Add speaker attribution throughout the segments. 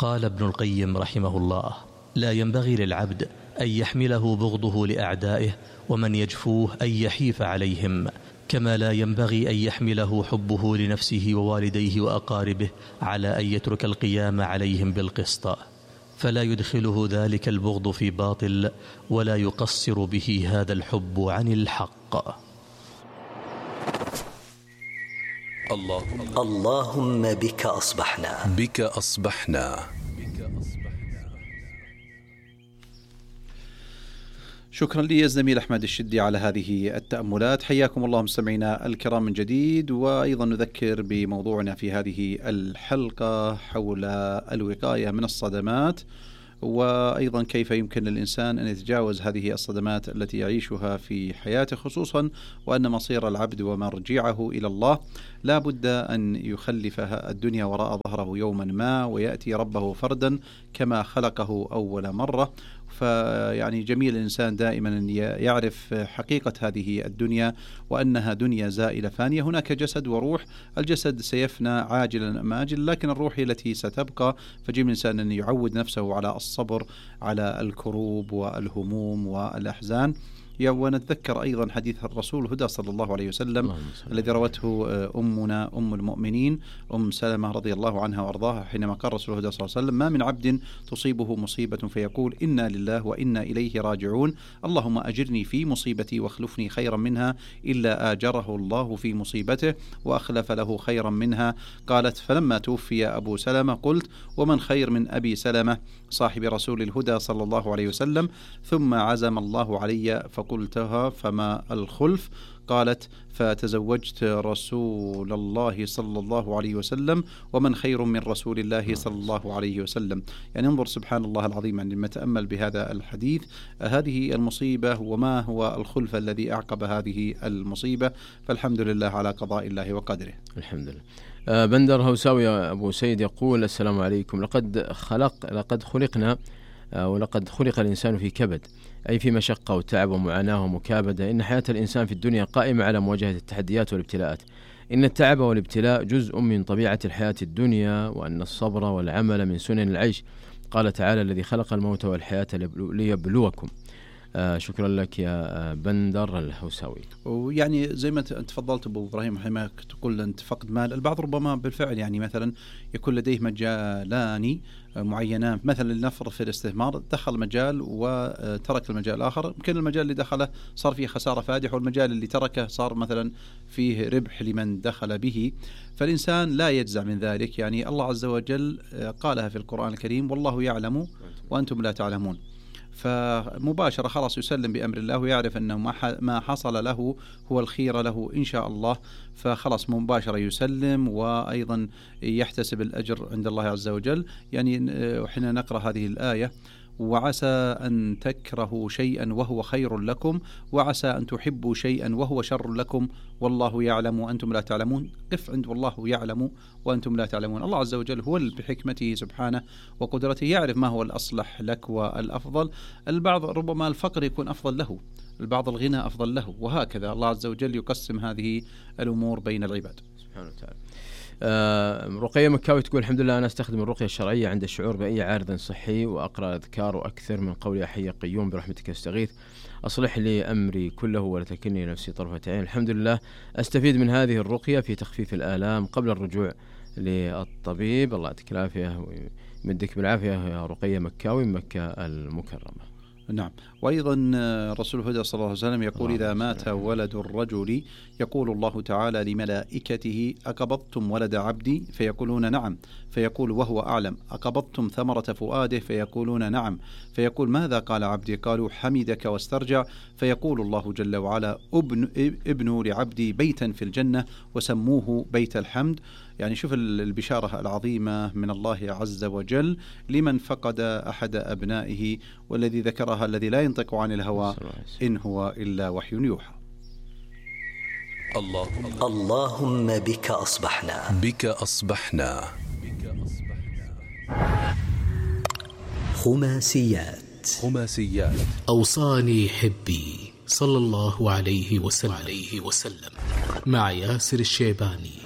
Speaker 1: قال ابن القيم رحمه الله: لا ينبغي للعبد أن يحمله بغضه لأعدائه ومن يجفوه أن يحيف عليهم، كما لا ينبغي أن يحمله حبه لنفسه ووالديه وأقاربه على أن يترك القيام عليهم بالقسط، فلا يدخله ذلك البغض في باطل ولا يقصر به هذا الحب عن الحق.
Speaker 2: اللهم بك أصبحنا.
Speaker 3: شكرا لي الزميل أحمد الشدي على هذه التأملات. حياكم الله مستمعينا الكرام من جديد، وأيضا نذكر بموضوعنا في هذه الحلقة حول الوقاية من الصدمات، وأيضا كيف يمكن للإنسان أن يتجاوز هذه الصدمات التي يعيشها في حياته، خصوصا وأن مصير العبد ومرجعه إلى الله لا بد أن يخلف الدنيا وراء ظهره يوما ما ويأتي ربه فردا كما خلقه أول مرة. فيعني جميل الإنسان دائما أن يعرف حقيقة هذه الدنيا وأنها دنيا زائلة فانية. هناك جسد وروح، الجسد سيفنى عاجلا أم آجلا، لكن الروح هي التي ستبقى. فجميل الإنسان أن يعود نفسه على الصبر على الكروب والهموم والأحزان. ونتذكر أيضا حديث الرسول الهدى صلى الله عليه وسلم الذي روته أمنا أم المؤمنين أم سلمة رضي الله عنها وأرضاها، حينما قال الرسول الهدى صلى الله عليه وسلم: ما من عبد تصيبه مصيبة فيقول إنا لله وإنا إليه راجعون، اللهم أجرني في مصيبتي واخلفني خيرا منها، إلا آجره الله في مصيبته وأخلف له خيرا منها. قالت: فلما توفي أبو سلمة قلت: ومن خير من أبي سلمة صاحب رسول الهدى صلى الله عليه وسلم؟ ثم عزم الله علي فقلتها: فما الخلف؟ قالت: فتزوجت رسول الله صلى الله عليه وسلم، ومن خير من رسول الله صلى الله عليه وسلم. يعني انظر سبحان الله العظيم عندما نتأمل بهذا الحديث، هذه المصيبة وما هو الخلف الذي أعقب هذه المصيبة، فالحمد لله على قضاء الله وقدره.
Speaker 4: الحمد لله. بندر هوساوي أبو سيد يقول: السلام عليكم. لقد خلقنا ولقد خلق الإنسان في كبد، أي في مشقة وتعب ومعاناة ومكابدة. إن حياة الإنسان في الدنيا قائمة على مواجهة التحديات والابتلاءات. إن التعب والابتلاء جزء من طبيعة الحياة الدنيا، وأن الصبر والعمل من سنن العيش. قال تعالى: الذي خلق الموت والحياة ليبلوكم. شكرا لك يا بندر الهوساوي.
Speaker 3: ويعني زي ما تفضلت أبو إبراهيم، حينما تقول أنت فقد مال، البعض ربما بالفعل يعني مثلا يكون لديه مجالان معينان، مثلا لنفرض في الاستثمار دخل مجال وترك المجال الآخر، يمكن المجال اللي دخله صار فيه خسارة فادحة، والمجال اللي تركه صار مثلا فيه ربح لمن دخل به. فالإنسان لا يجزع من ذلك. يعني الله عز وجل قالها في القرآن الكريم: والله يعلم وأنتم لا تعلمون. فمباشرة خلاص يسلم بأمر الله ويعرف أنه ما حصل له هو الخير له إن شاء الله، فخلاص مباشرة يسلم وأيضا يحتسب الأجر عند الله عز وجل. يعني وحين نقرأ هذه الآية: وعسى أن تكرهوا شيئا وهو خير لكم، وعسى أن تحبوا شيئا وهو شر لكم، والله يعلم وأنتم لا تعلمون. قف عند والله يعلم وأنتم لا تعلمون. الله عز وجل هو بحكمته سبحانه وقدرته يعرف ما هو الأصلح لك والأفضل. البعض ربما الفقر يكون أفضل له، البعض الغنى أفضل له، وهكذا الله عز وجل يقسم هذه الأمور بين العباد
Speaker 4: سبحانه وتعالى. رقية مكاوي تقول: الحمد لله، أنا أستخدم الرقية الشرعية عند الشعور بأي عارض صحي، وأقرأ أذكار وأكثر من قول حي قيوم برحمتك أستغيث، أصلح لي أمري كله ولا تكلني نفسي طرفة عين. الحمد لله أستفيد من هذه الرقية في تخفيف الآلام قبل الرجوع للطبيب. الله يعطيك العافية ويمدك بالعافية يا رقية مكاوي من مكة المكرمة.
Speaker 3: نعم. وأيضا رسول الهدى صلى الله عليه وسلم يقول: إذا مات ولد الرجل يقول الله تعالى لملائكته: أقبضتم ولد عبدي؟ فيقولون نعم. فيقول وهو أعلم: أقبضتم ثمرة فؤاده؟ فيقولون نعم. فيقول: ماذا قال عبدي؟ قالوا: حمدك واسترجع. فيقول الله جل وعلا: ابنوا لعبدي بيتا في الجنة وسموه بيت الحمد. يعني شوف البشارة العظيمة من الله عز وجل لمن فقد أحد أبنائه، والذي ذكرها الذي لا ينطق عن الهوى إن هو إلا وحي يوحى.
Speaker 2: اللهم بك أصبحنا. خماسيات.
Speaker 5: أوصاني حبي صلى الله عليه وسلم مع ياسر الشيباني.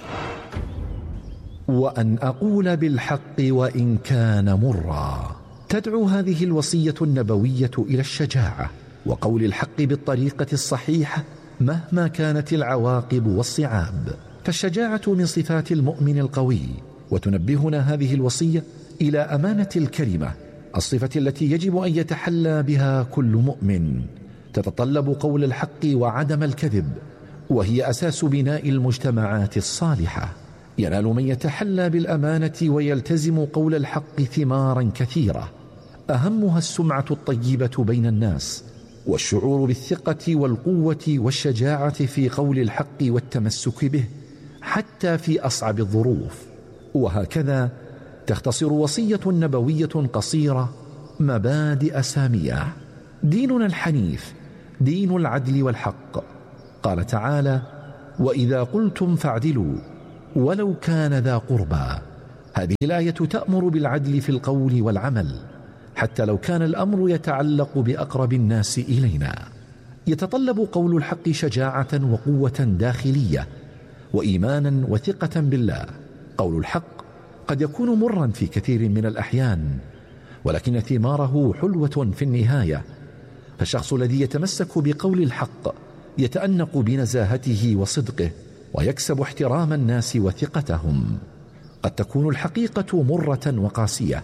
Speaker 6: وأن أقول بالحق وإن كان مرا. تدعو هذه الوصية النبوية إلى الشجاعة وقول الحق بالطريقة الصحيحة مهما كانت العواقب والصعاب، فالشجاعة من صفات المؤمن القوي. وتنبهنا هذه الوصية إلى أمانة الكلمة، الصفة التي يجب أن يتحلى بها كل مؤمن. تتطلب قول الحق وعدم الكذب، وهي أساس بناء المجتمعات الصالحة. ينال من يتحلى بالأمانة ويلتزم قول الحق ثمارا كثيرة، أهمها السمعة الطيبة بين الناس، والشعور بالثقة والقوة والشجاعة في قول الحق والتمسك به حتى في أصعب الظروف. وهكذا تختصر وصية نبوية قصيرة مبادئ سامية. ديننا الحنيف دين العدل والحق. قال تعالى: وإذا قلتم فاعدلوا ولو كان ذا قربى. هذه الآية تأمر بالعدل في القول والعمل حتى لو كان الأمر يتعلق بأقرب الناس إلينا. يتطلب قول الحق شجاعة وقوة داخلية وإيمانا وثقة بالله. قول الحق قد يكون مرا في كثير من الأحيان، ولكن ثماره حلوة في النهاية. فالشخص الذي يتمسك بقول الحق يتأنق بنزاهته وصدقه ويكسب احترام الناس وثقتهم. قد تكون الحقيقة مرة وقاسية،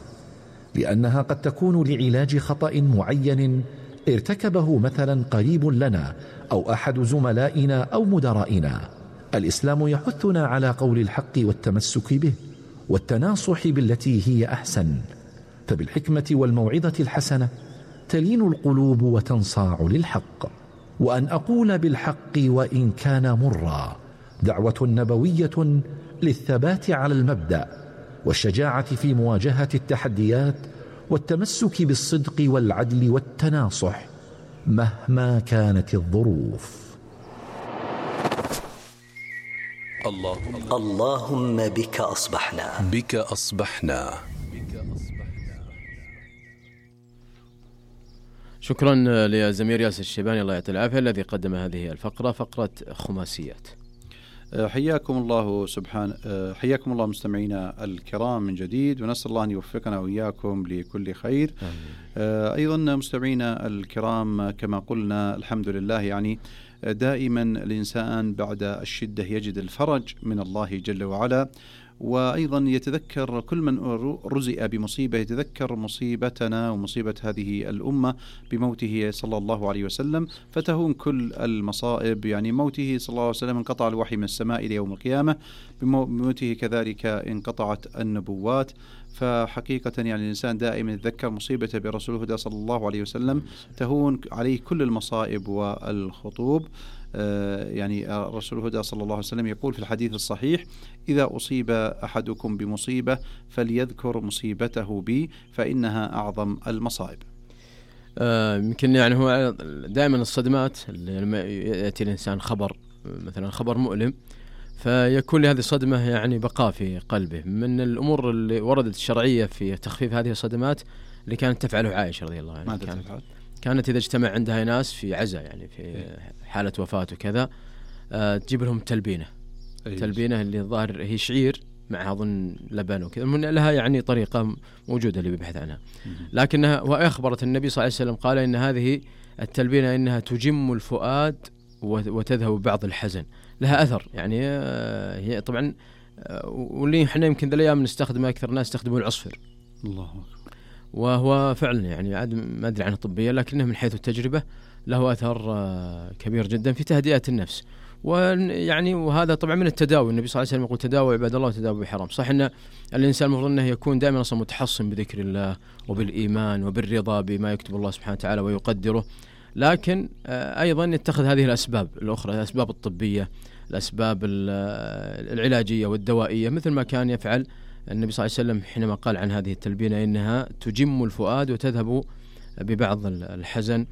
Speaker 6: لأنها قد تكون لعلاج خطأ معين ارتكبه مثلا قريب لنا أو أحد زملائنا أو مدرائنا. الإسلام يحثنا على قول الحق والتمسك به والتناصح بالتي هي أحسن، فبالحكمة والموعظة الحسنة تلين القلوب وتنصاع للحق. وأن أقول بالحق وإن كان مرا دعوة نبوية للثبات على المبدأ والشجاعة في مواجهة التحديات والتمسك بالصدق والعدل والتناصح مهما كانت الظروف.
Speaker 2: اللهم بك أصبحنا.
Speaker 7: بك أصبحنا.
Speaker 4: شكرا لزمير ياسر الشيباني الله يعطيه العافية الذي قدم هذه الفقرة، فقرة خماسيات.
Speaker 3: حياكم الله مستمعينا الكرام من جديد، ونسأل الله أن يوفقنا وإياكم لكل خير. أيضا مستمعينا الكرام، كما قلنا الحمد لله، يعني دائما الإنسان بعد الشدة يجد الفرج من الله جل وعلا، وأيضا يتذكر كل من رزق بمصيبة يتذكر مصيبتنا ومصيبة هذه الأمة بموته صلى الله عليه وسلم، فتهون كل المصائب. يعني موته صلى الله عليه وسلم انقطع الوحي من السماء إلى يوم القيامة، بموته كذلك انقطعت النبوات. فحقيقة يعني الإنسان دائما يتذكر مصيبته برسول الهدى صلى الله عليه وسلم، تهون عليه كل المصائب والخطوب. يعني رسول الهدى صلى الله عليه وسلم يقول في الحديث الصحيح: إذا أصيب أحدكم بمصيبة فليذكر مصيبته بي فإنها أعظم المصائب.
Speaker 4: يمكن يعني هو دائما الصدمات لما يأتي الإنسان خبر مثلا خبر مؤلم، فيكون لهذه الصدمة يعني بقاء في قلبه. من الأمور اللي وردت الشرعية في تخفيف هذه الصدمات اللي كانت تفعله عائشة رضي الله عنها، كانت إذا اجتمع عندها ناس في عزاء يعني في حالة وفاة وكذا، تجيب لهم تلبينة اللي الظاهر هي شعير معها أظن لبن وكذا، من لها يعني طريقة موجودة اللي بيبحث عنها، لكنها وأخبرت النبي صلى الله عليه وسلم قال إن هذه التلبينة إنها تجم الفؤاد وتذهب بعض الحزن، لها أثر. يعني هي طبعا واللي احنا يمكن ذا الأيام نستخدمها أكثر ناس يستخدمون العصفر،
Speaker 3: الله أكبر،
Speaker 4: وهو فعلا يعني عاد ما أدري عنه طبيا، لكنه من حيث التجربة له أثر كبير جدا في تهدئة النفس. ويعني وهذا طبعا من التداوي، النبي صلى الله عليه وسلم يقول: تداووا عباد الله وتداووا بحرام. صح ان الانسان المفروض انه يكون دائما اصلا متحصن بذكر الله وبالايمان وبالرضا بما يكتب الله سبحانه وتعالى ويقدره، لكن ايضا يتخذ هذه الاسباب الاخرى، الاسباب الطبيه، الاسباب العلاجيه والدوائيه، مثل ما كان يفعل النبي صلى الله عليه وسلم حينما قال عن هذه التلبينه انها تجم الفؤاد وتذهب ببعض الحزن.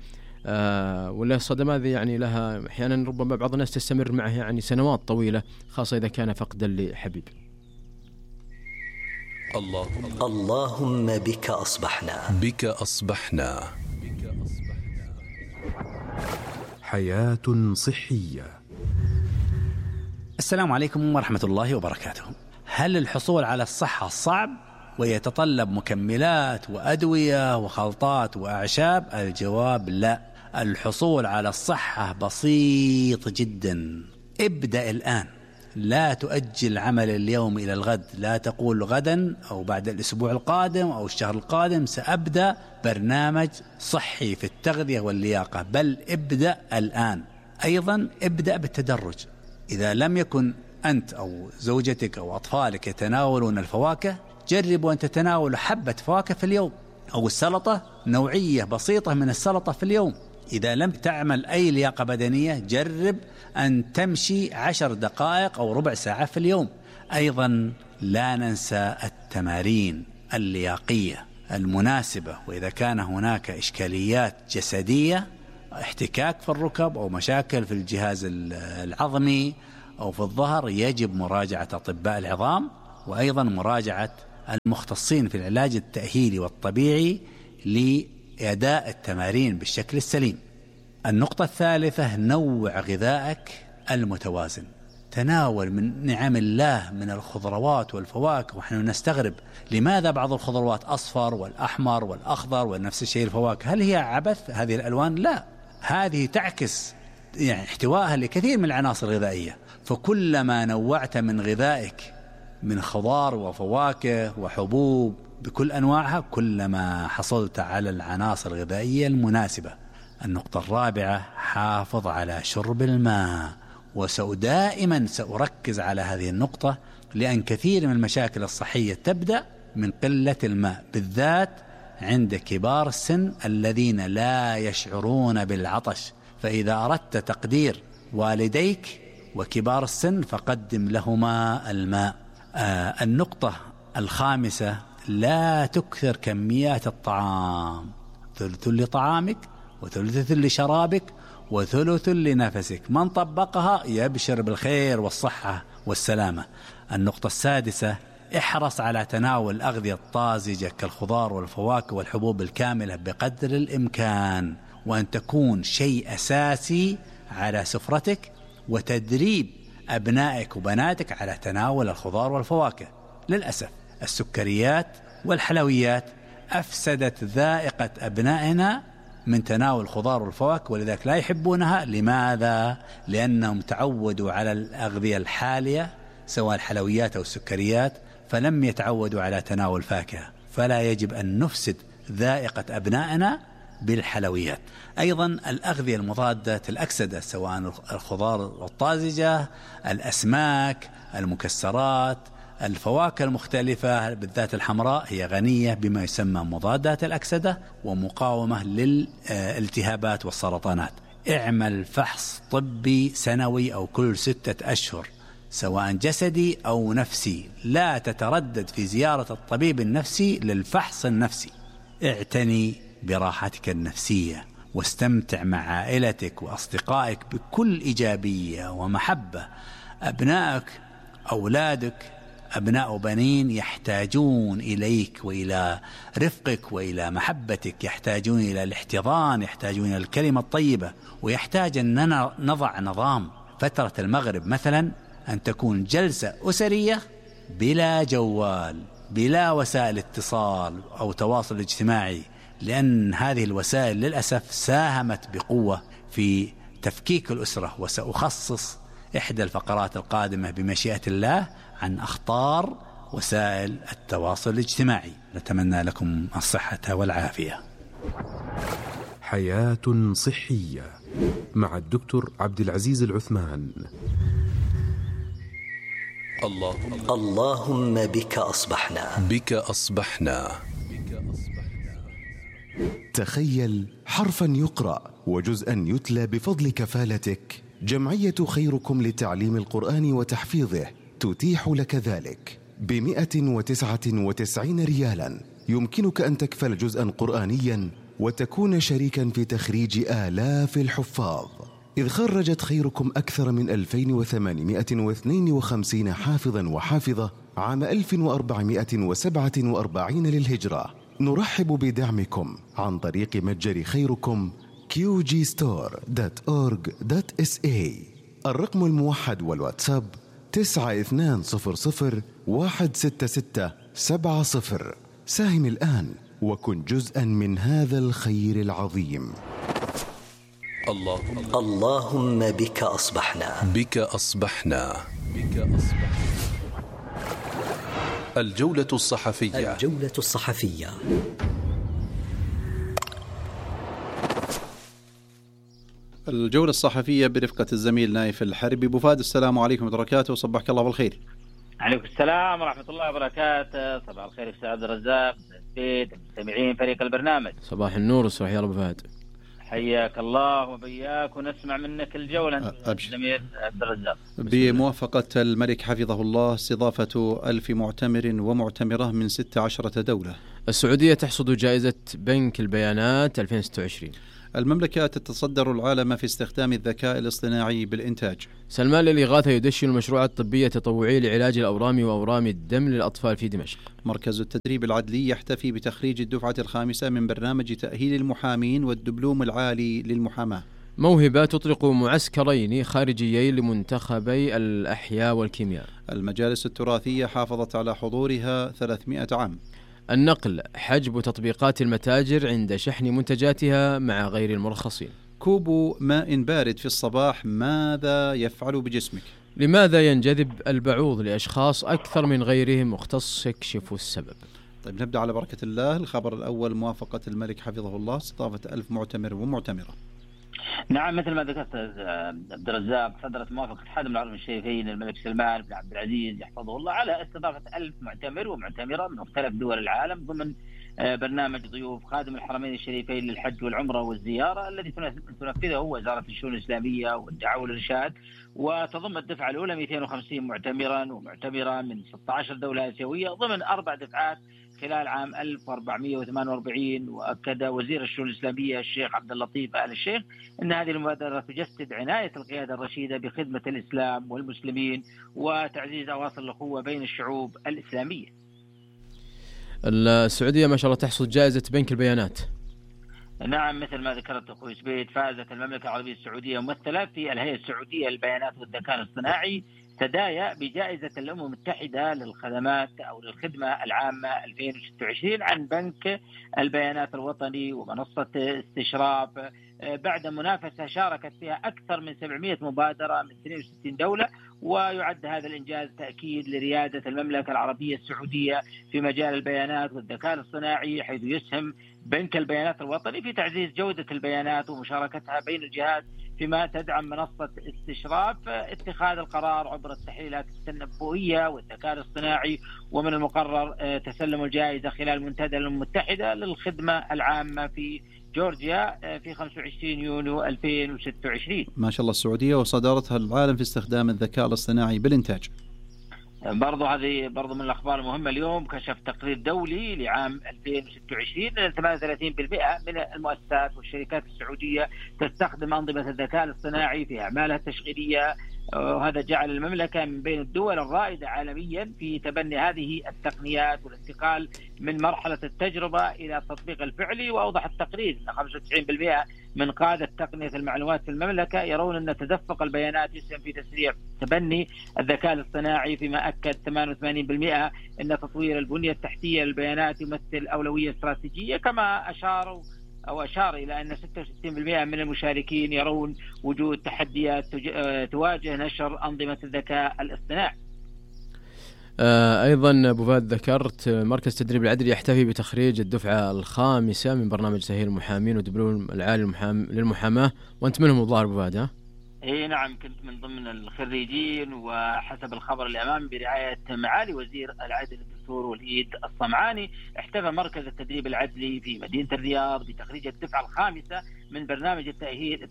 Speaker 4: ولا الصدمات يعني لها احيانا ربما بعض الناس تستمر معه يعني سنوات طويله، خاصه اذا كان فقدا لحبيب.
Speaker 2: اللهم بك أصبحنا.
Speaker 7: بك أصبحنا.
Speaker 5: حياة صحية.
Speaker 8: السلام عليكم ورحمة الله وبركاته. هل الحصول على الصحة صعب ويتطلب مكملات وأدوية وخلطات وأعشاب؟ الجواب لا. الحصول على الصحة بسيط جدا. ابدأ الآن، لا تؤجل عمل اليوم إلى الغد. لا تقول غدا أو بعد الأسبوع القادم أو الشهر القادم سأبدأ برنامج صحي في التغذية واللياقة، بل ابدأ الآن. أيضا ابدأ بالتدرج. إذا لم يكن أنت أو زوجتك أو أطفالك يتناولون الفواكه، جربوا أن تتناولوا حبة فواكه في اليوم، أو السلطة، نوعية بسيطة من السلطة في اليوم. إذا لم تعمل أي لياقة بدنية، جرب أن تمشي 10 دقائق أو ربع ساعة في اليوم. أيضا لا ننسى التمارين اللياقية المناسبة. وإذا كان هناك إشكاليات جسدية، احتكاك في الركب أو مشاكل في الجهاز العظمي أو في الظهر، يجب مراجعة أطباء العظام، وأيضا مراجعة المختصين في العلاج التأهيلي والطبيعي لأداء التمارين بالشكل السليم. النقطة الثالثة، نوع غذائك المتوازن. تناول من نعم الله من الخضروات والفواكه. ونحن نستغرب لماذا بعض الخضروات أصفر والأحمر والأخضر ونفس الشيء الفواكه. هل هي عبث هذه الألوان؟ لا، هذه تعكس احتوائها لكثير من العناصر الغذائية. فكلما نوعت من غذائك من خضار وفواكه وحبوب بكل أنواعها، كلما حصلت على العناصر الغذائية المناسبة. النقطة الرابعة، حافظ على شرب الماء. ودائما سأركز على هذه النقطة، لأن كثير من المشاكل الصحية تبدأ من قلة الماء، بالذات عند كبار السن الذين لا يشعرون بالعطش. فإذا أردت تقدير والديك وكبار السن، فقدم لهما الماء. النقطة الخامسة، لا تكثر كميات الطعام. ثلث لطعامك وثلث لشرابك وثلث لنفسك. من طبقها يبشر بالخير والصحة والسلامة. النقطة السادسة، احرص على تناول الأغذية الطازجة كالخضار والفواكه والحبوب الكاملة بقدر الإمكان، وأن تكون شيء أساسي على سفرتك، وتدريب أبنائك وبناتك على تناول الخضار والفواكه. للأسف السكريات والحلويات أفسدت ذائقة أبنائنا من تناول الخضار والفواكه، ولذلك لا يحبونها. لماذا؟ لأنهم تعودوا على الأغذية الحالية سواء الحلويات أو السكريات، فلم يتعودوا على تناول الفاكهة. فلا يجب أن نفسد ذائقة أبنائنا بالحلويات. أيضا الأغذية المضادة الأكسدة، سواء الخضار الطازجة، الأسماك، المكسرات، الفواكه المختلفة بالذات الحمراء، هي غنية بما يسمى مضادات الأكسدة ومقاومة للالتهابات والسرطانات. اعمل فحص طبي سنوي أو كل 6 أشهر، سواء جسدي أو نفسي. لا تتردد في زيارة الطبيب النفسي للفحص النفسي. اعتني براحتك النفسية، واستمتع مع عائلتك وأصدقائك بكل إيجابية ومحبة. أبنائك، أولادك، أبناء وبنين، يحتاجون إليك وإلى رفقك وإلى محبتك، يحتاجون إلى الاحتضان، يحتاجون إلى الكلمة الطيبة، ويحتاج أن نضع نظام. فترة المغرب مثلا أن تكون جلسة أسرية بلا جوال، بلا وسائل اتصال أو تواصل اجتماعي، لأن هذه الوسائل للأسف ساهمت بقوة في تفكيك الأسرة. وسأخصص إحدى الفقرات القادمة بمشيئة الله عن أخطار وسائل التواصل الاجتماعي. نتمنى لكم الصحة والعافية.
Speaker 7: حياة صحية مع الدكتور عبد العزيز العثمان.
Speaker 2: اللهم بك أصبحنا.
Speaker 7: بك أصبحنا.
Speaker 9: تخيل حرفا يقرأ وجزءا يتلى بفضل كفالتك. جمعية خيركم لتعليم القرآن وتحفيظه تتيح لك ذلك ب199 ريالا. يمكنك أن تكفل جزءا قرآنيا وتكون شريكا في تخريج آلاف الحفاظ، إذ خرجت خيركم أكثر من 2852 حافظا وحافظة عام 1447 للهجرة. نرحب بدعمكم عن طريق متجر خيركم qgstore.org.sa. الرقم الموحد والواتساب 9200 16670. ساهم الآن وكن جزءا من هذا الخير العظيم.
Speaker 2: اللهم بك أصبحنا.
Speaker 7: بك أصبحنا. بك أصبحنا. الجولة الصحفية.
Speaker 2: الجولة الصحفية.
Speaker 3: الجولة الصحفية برفقة الزميل نايف الحربي. أبو فهد، السلام عليكم ورحمة الله وبركاته، وصبحك الله بالخير.
Speaker 10: عليكم السلام ورحمة الله وبركاته. صباح الخير أستاذ عبد الرزاق، المستمعين، فريق البرنامج.
Speaker 4: صباح النور والصباح يا أبو فهد.
Speaker 10: حياك الله وبياك، ونسمع منك الجولة زميل عبد الرزاق.
Speaker 3: بموافقة الملك حفظه الله استضافة 1000 معتمر ومعتمرة من 16 دولة.
Speaker 4: السعودية تحصد جائزة بنك البيانات 2026.
Speaker 3: المملكة تتصدر العالم في استخدام الذكاء الاصطناعي بالإنتاج.
Speaker 4: سلمان للإغاثة يدشن المشروع الطبي التطوعي لعلاج الأورام وأورام الدم للأطفال في دمشق.
Speaker 3: مركز التدريب العدلي يحتفي بتخريج الدفعة الخامسة من برنامج تأهيل المحامين والدبلوم العالي للمحاماة.
Speaker 4: موهبة تطلق معسكرين خارجيين لمنتخبي الأحياء والكيمياء.
Speaker 3: المجالس التراثية حافظت على حضورها 300 عام.
Speaker 4: النقل حجب تطبيقات المتاجر عند شحن منتجاتها مع غير المرخصين.
Speaker 3: كوب ماء بارد في الصباح ماذا يفعل بجسمك؟
Speaker 4: لماذا ينجذب البعوض لأشخاص أكثر من غيرهم؟ مختص يكشف السبب.
Speaker 3: طيب نبدأ على بركة الله. الخبر الأول، موافقة الملك حفظه الله استضافة 1000 معتمر ومعتمرة.
Speaker 10: نعم، مثل ما ذكرت عبد الرزاق، صدرت موافقة خادم العالم الشريفين الملك سلمان بن عبد العزيز يحفظه الله على استضافة 1000 معتمر ومعتمرة من مختلف دول العالم ضمن برنامج ضيوف خادم الحرمين الشريفين للحج والعمرة والزيارة الذي تنفذه وزارة الشؤون الإسلامية والدعوة والإرشاد، وتضم الدفعة الأولى 250 معتمرا ومعتمرة من 16 دولة آسيوية ضمن 4 دفعات خلال عام 1448. وأكد وزير الشؤون الإسلامية الشيخ عبد اللطيف آل الشيخ أن هذه المبادرة تجسد عناية القيادة الرشيدة بخدمة الإسلام والمسلمين وتعزيز أواصر الأخوة بين الشعوب الإسلامية.
Speaker 4: السعودية ما شاء الله تحصد جائزة بنك البيانات.
Speaker 10: نعم، مثل ما ذكرت أخوي سبيد، فازت المملكة العربية السعودية ممثلة في الهيئة السعودية للبيانات والذكاء الاصطناعي تدايا بجائزة الأمم المتحدة للخدمات أو للخدمة العامة 2026 عن بنك البيانات الوطني ومنصة استشراف، بعد منافسة شاركت فيها أكثر من 700 مبادرة من 62 دولة. ويعد هذا الإنجاز تأكيد لريادة المملكة العربية السعودية في مجال البيانات والذكاء الاصطناعي، حيث يسهم بنك البيانات الوطني في تعزيز جودة البيانات ومشاركتها بين الجهات، فيما تدعم منصة استشراف اتخاذ القرار عبر التحليلات التنبؤية والذكاء الاصطناعي. ومن المقرر تسلم الجائزة خلال منتدى الأمم المتحدة للخدمة العامة في جورجيا في 25 يونيو 2026.
Speaker 3: ما شاء الله السعودية وصدارتها العالم في استخدام الذكاء الاصطناعي بالإنتاج.
Speaker 10: هذه برضو من الأخبار المهمة اليوم. كشف تقرير دولي لعام 2026 أن 38% من المؤسسات والشركات السعودية تستخدم أنظمة الذكاء الاصطناعي في أعمالها التشغيلية، وهذا جعل المملكة من بين الدول الرائدة عالميا في تبني هذه التقنيات والانتقال من مرحلة التجربة إلى التطبيق الفعلي. وأوضح التقرير أن 95% من قادة تقنية المعلومات في المملكة يرون أن تدفق البيانات يسهم في تسريع تبني الذكاء الاصطناعي، فيما أكد 88% أن تطوير البنية التحتية للبيانات يمثل أولوية استراتيجية. كما أشار إلى أن 66% من المشاركين يرون وجود تحديات تواجه نشر أنظمة الذكاء الاصطناعي.
Speaker 4: أيضا أبو فهد ذكرت مركز تدريب العدل يحتفي بتخريج الدفعة الخامسة من برنامج تأهيل المحامين ودبلوم العالي للمحاماة، وأنت منهم الظاهر أبو فهد.
Speaker 10: إيه نعم، كنت من ضمن الخريجين، وحسب الخبر اللي أمامي برعاية معالي وزير العدل الدكتور وليد الصمعاني احتفى مركز التدريب العدلي في مدينة الرياض بتخريج الدفعة الخامسة من برنامج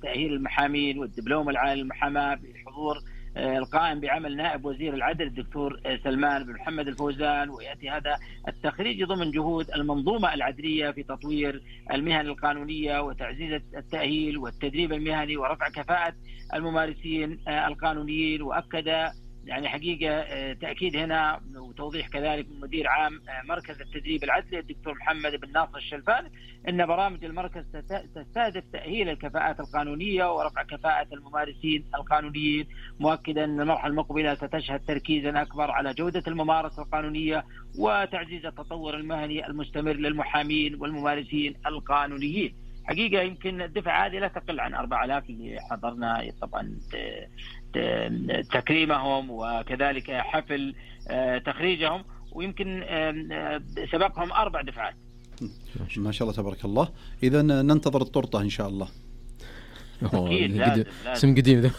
Speaker 10: تأهيل المحامين والدبلوم العالي للمحاماة بحضور القائم بعمل نائب وزير العدل الدكتور سلمان بن محمد الفوزان. ويأتي هذا التخريج ضمن جهود المنظومة العدلية في تطوير المهن القانونية وتعزيز التأهيل والتدريب المهني ورفع كفاءة الممارسين القانونيين. وأكد يعني حقيقة تأكيد هنا وتوضيح كذلك من مدير عام مركز التدريب العدلي الدكتور محمد بن ناصر الشلفاني أن برامج المركز تستهدف تأهيل الكفاءات القانونية ورفع كفاءة الممارسين القانونيين، مؤكدا أن المرحلة المقبلة ستشهد تركيزا أكبر على جودة الممارسة القانونية وتعزيز التطور المهني المستمر للمحامين والممارسين القانونيين. حقيقة يمكن الدفعة هذه لا تقل عن 4000 اللي حضرنا طبعا تكريمهم وكذلك حفل تخريجهم، ويمكن سبقهم 4 دفعات.
Speaker 3: ما شاء الله تبارك الله. إذا ننتظر التورتة إن شاء الله.
Speaker 10: أكيد لازم
Speaker 4: اسم قديم ذا.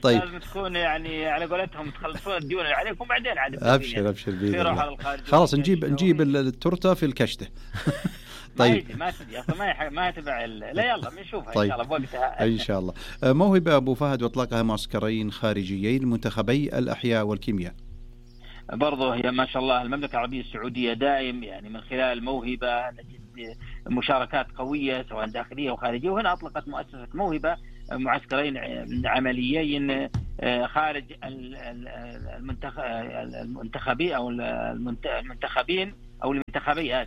Speaker 3: طيب
Speaker 10: لازم تكون يعني على قولتهم تخلصون الديون اللي عليكم بعدين عاد
Speaker 3: أبشر خلاص نجيب التورتة في الكشتة.
Speaker 10: طيب ما تدي اصلا ما تبع لا يلا بنشوفها طيب. ان شاء الله بوقتها
Speaker 3: ان شاء الله. موهبة ابو فهد واطلاقها معسكرين خارجيين لمنتخبي الاحياء والكيمياء.
Speaker 10: برضه هي ما شاء الله المملكة العربية السعودية دائم يعني من خلال الموهبة نجد مشاركات قوية سواء داخلية وخارجية، وهنا اطلقت مؤسسة موهبة معسكرين عمليين خارج المنتخبين او المنتخبين او المنتخبي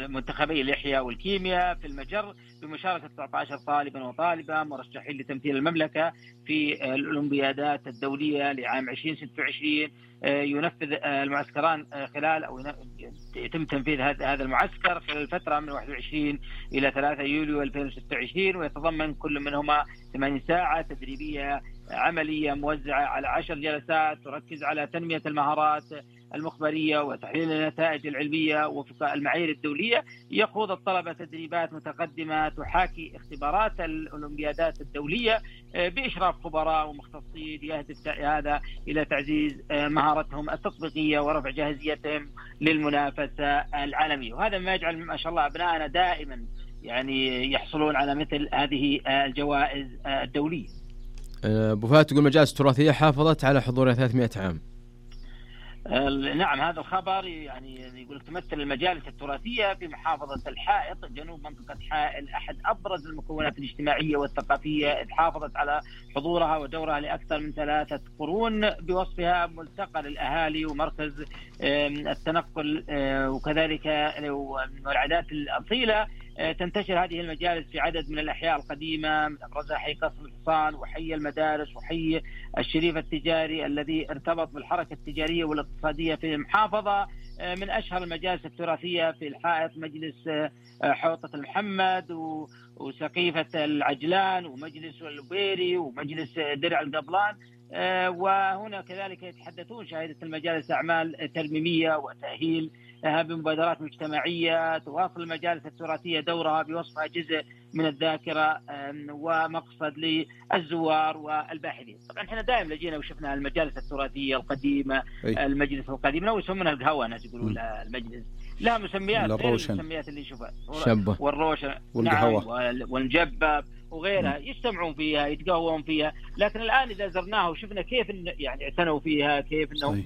Speaker 10: منتخبي الإحياء والكيمياء في المجر بمشاركة 19 طالبا وطالبة مرشحين لتمثيل المملكة في الأولمبيادات الدولية لعام 2026. ينفذ المعسكران خلال أو يتم تنفيذ هذا المعسكر خلال الفترة من 21 إلى 3 يوليو 2026، ويتضمن كل منهما 8 ساعات تدريبية عملية موزعة على 10 جلسات تركز على تنمية المهارات المخبرية وتحليل النتائج العلمية وفق المعايير الدولية. يخوض الطلبة تدريبات متقدمة تحاكي اختبارات الأولمبيادات الدولية بإشراف خبراء ومختصين، يهدف هذا إلى تعزيز مهارتهم التطبيقية ورفع جاهزيتهم للمنافسة العالمية، وهذا ما يجعل ما شاء الله أبنائنا دائما يعني يحصلون على مثل هذه الجوائز الدولية.
Speaker 4: أبو فهد تقول مجالس التراثية حافظت على حضورها 300 عام.
Speaker 10: نعم هذا الخبر يعني يقول تمثل المجالس التراثية في محافظة الحائط جنوب منطقة حائل أحد أبرز المكونات الاجتماعية والثقافية، إذ حافظت على حضورها ودورها لأكثر من 3 قرون بوصفها ملتقى للأهالي ومركز التنقل وكذلك والعادات الأصيلة. تنتشر هذه المجالس في عدد من الأحياء القديمة من أبرزها حي قصر الحصان وحي المدارس وحي الشريف التجاري الذي ارتبط بالحركة التجارية والاقتصادية في المحافظة. من أشهر المجالس التراثية في الحائط مجلس حوطة المحمد وسقيفة العجلان ومجلس اللبيري ومجلس درع القبلان، وهنا كذلك يتحدثون شهادة المجالس أعمال ترميمية وتأهيل بمبادرات مجتمعية. تواصل المجالس التراثية دورها بوصفها جزء من الذاكرة ومقصد للزوار والباحثين. طبعا احنا دائما لجينا وشفنا المجالس التراثية القديمة المجلس القديم لو يسمونها القهوة ناس يقولون المجلس لها مسميات غير المسميات اللي نشوفها والروشن
Speaker 3: والقهوة
Speaker 10: والمجبب وغيرها يجتمعون فيها يتقهوون فيها، لكن الآن إذا زرناها وشفنا كيف يعني اعتنوا فيها كيف إنهم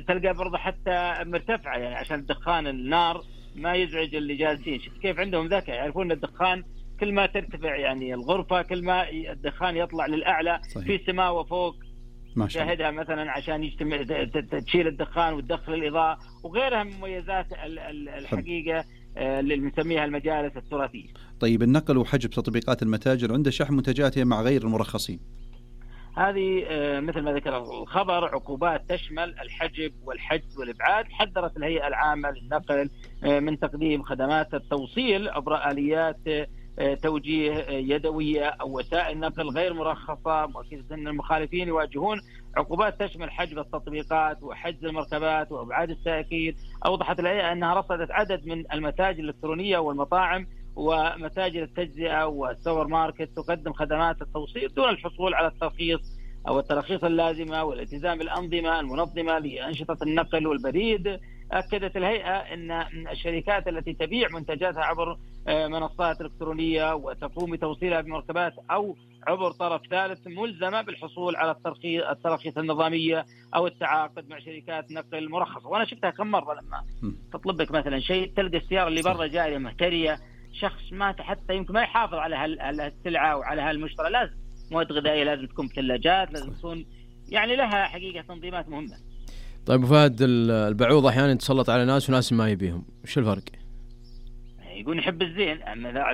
Speaker 10: تلقى برضه حتى مرتفعة يعني عشان الدخان النار ما يزعج اللي جالسين. شوف كيف عندهم ذكاء يعرفون الدخان كل ما ترتفع يعني الغرفة كل ما الدخان يطلع للأعلى في السماء وفوق. شاهدها مثلا عشان تشيل الدخان وتدخل الإضاءة وغيرها من مميزات الحقيقة اللي بنسميها المجالس التراثية.
Speaker 3: طيب النقل وحجب تطبيقات المتاجر عند شحن منتجاتها مع غير المرخصين،
Speaker 10: هذه مثل ما ذكر الخبر عقوبات تشمل الحجب والحجز والإبعاد. حذرت الهيئة العامة للنقل من تقديم خدمات التوصيل عبر آليات توجيه يدوية أو وسائل نقل غير مرخصة، مؤكدة أن المخالفين يواجهون عقوبات تشمل حجب التطبيقات وحجز المركبات وإبعاد السائقين. أوضحت الهيئة أنها رصدت عدد من المتاجر الإلكترونية والمطاعم ومتاجر التجزئة والسوبر ماركت تقدم خدمات التوصيل دون الحصول على الترخيص أو التراخيص اللازمة والالتزام بالأنظمة المنظمة لأنشطة النقل والبريد. أكدت الهيئة أن الشركات التي تبيع منتجاتها عبر منصات إلكترونية وتقوم بتوصيلها بمركبات أو عبر طرف ثالث ملزمة بالحصول على التراخيص النظامية أو التعاقد مع شركات نقل مرخصة. وأنا شفتها كم مرة لما تطلب لك مثلا شيء تلقى السيارة اللي برا جارية مهترية، شخص ما حتى يمكن ما يحافظ على السلعة وعلى هالمشترى. لازم مواد غذائية لازم تكون بثلاجات، لازم تكون يعني لها حقيقة تنظيمات مهمة.
Speaker 4: طيب فهد، البعوض أحيانا يتسلط على ناس وناس ما يبيهم، وش الفرق؟
Speaker 10: يقول يحب الزين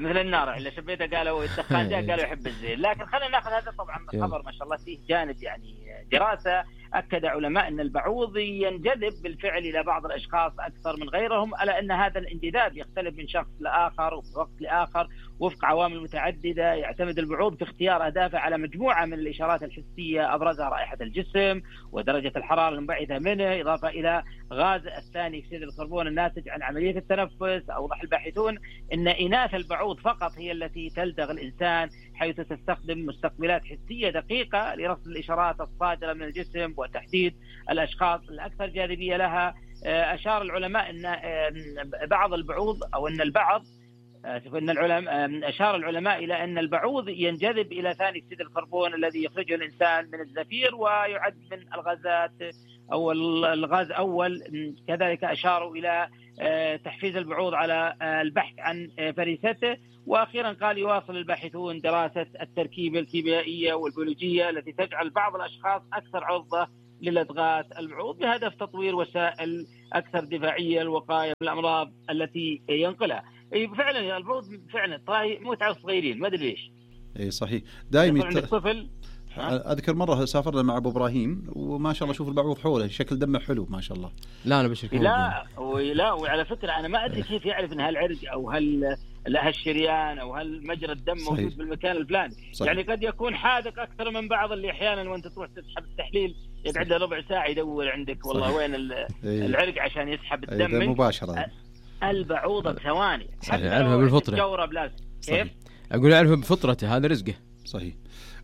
Speaker 10: مثل النار اللي شبيته قالوا الدخان جاء قالوا يحب الزين. لكن خلينا ناخذ هذا طبعا الخبر ما شاء الله فيه جانب يعني دراسة أكد علماء أن البعوض ينجذب بالفعل إلى بعض الأشخاص أكثر من غيرهم، ألا أن هذا الانجذاب يختلف من شخص لآخر وفي وقت لآخر وفق عوامل متعددة. يعتمد البعوض في اختيار أهدافه على مجموعة من الإشارات الحسية أبرزها رائحة الجسم ودرجة الحرارة المنبعثة منه، إضافة إلى غاز الثاني أكسيد الكربون الناتج عن عملية التنفس. أوضح الباحثون أن إناث البعوض فقط هي التي تلدغ الإنسان، حيث تستخدم مستقبلات حسية دقيقة لرصد الإشارات الصادرة من الجسم وتحديد الأشخاص الأكثر جاذبية لها. أشار العلماء أن بعض البعوض أو أن البعض أشار العلماء إلى أن البعوض ينجذب إلى ثاني أكسيد الكربون الذي يخرجه الإنسان من الزفير ويعد من الغازات أو الغاز أول. كذلك أشاروا إلى تحفيز البعوض على البحث عن فريسته. وأخيرا قال يواصل الباحثون دراسة التركيبة الكيميائية والبيولوجية التي تجعل بعض الأشخاص أكثر عرضة للدغات البعوض بهدف تطوير وسائل أكثر دفاعية للوقاية من الأمراض التي ينقلها. فعلا البعوض فعلا طاي متعة صغيرين ما أدري ليش.
Speaker 3: إيه صحيح دائما
Speaker 10: الطفل.
Speaker 3: أذكر مرة سافرنا مع أبو إبراهيم وما شاء الله شوف البعوض حوله شكل دمه حلو ما شاء الله.
Speaker 4: لا أنا بشكل
Speaker 10: لا وعلى فكرة أنا ما أدري كيف يعرف إن هالعرق أو هالشريان أو هالمجرى الدم
Speaker 3: صحيح.
Speaker 10: موجود بالمكان الفلاني. يعني قد يكون حادق أكثر من بعض اللي أحيانا وأنت تروح تسحب التحليل يقعد له ربع ساعة يدور عندك والله صحيح. وين العرق عشان يسحب الدم
Speaker 3: مباشرة.
Speaker 10: البعوضة بثواني
Speaker 4: يعرفها بالفطرة.
Speaker 10: كيف؟
Speaker 4: أقول يعرفها بفطرته هذا رزقه.
Speaker 3: صحيح.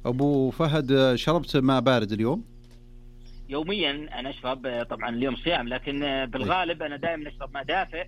Speaker 3: أبو فهد شربت ماء بارد اليوم؟
Speaker 10: يوميا أنا أشرب طبعا اليوم صيام لكن بالغالب أنا دائما أشرب ماء دافئ.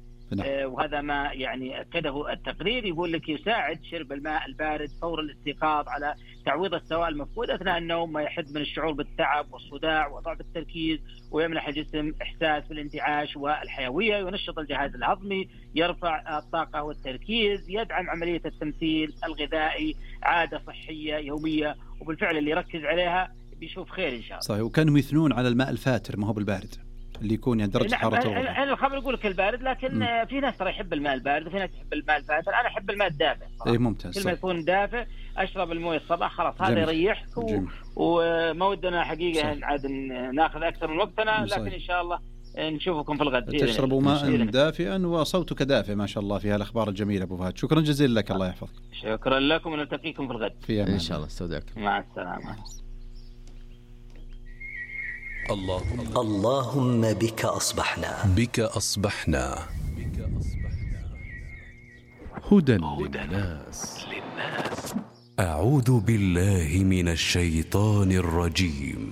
Speaker 10: وهذا ما يعني أكده التقرير يقول لك يساعد شرب الماء البارد فور الاستيقاظ على تعويض السوائل المفقودة أثناء النوم، ما يحد من الشعور بالتعب والصداع وضعف التركيز ويمنح الجسم إحساس بالانتعاش والحيوية، ينشط الجهاز الهضمي، يرفع الطاقة والتركيز، يدعم عملية التمثيل الغذائي، عادة صحية يومية وبالفعل اللي يركز عليها بيشوف خير إن شاء الله.
Speaker 3: صحيح. وكانوا يثنون على الماء الفاتر ما هو بالبارد اللي يكون يعني درجة حرارته.
Speaker 10: أنا الخبر يقول لك البارد لكن في ناس ترى يحب الماء البارد وفي ناس يحب الماء الفاتر. أنا أحب الماء الدافئ.
Speaker 3: إيه ممتاز.
Speaker 10: كل ما يكون دافئ أشرب المويه الصباح خلاص هذا يريحك وما ودنا حقيقة عاد ناخذ أكثر من وقتنا لكن إن شاء الله نشوفكم في الغد.
Speaker 3: تشربوا ماء دافئا وصوتك دافئ ما شاء الله في هالأخبار الجميلة أبو فهد. شكرا جزيلا لك الله يحفظك.
Speaker 10: شكرا لكم ونلتقيكم في الغد
Speaker 3: في أمان.
Speaker 4: إن شاء الله استودعكم.
Speaker 10: مع السلامة.
Speaker 2: اللهم بك أصبحنا
Speaker 7: هدى للناس. أعوذ بالله من الشيطان الرجيم.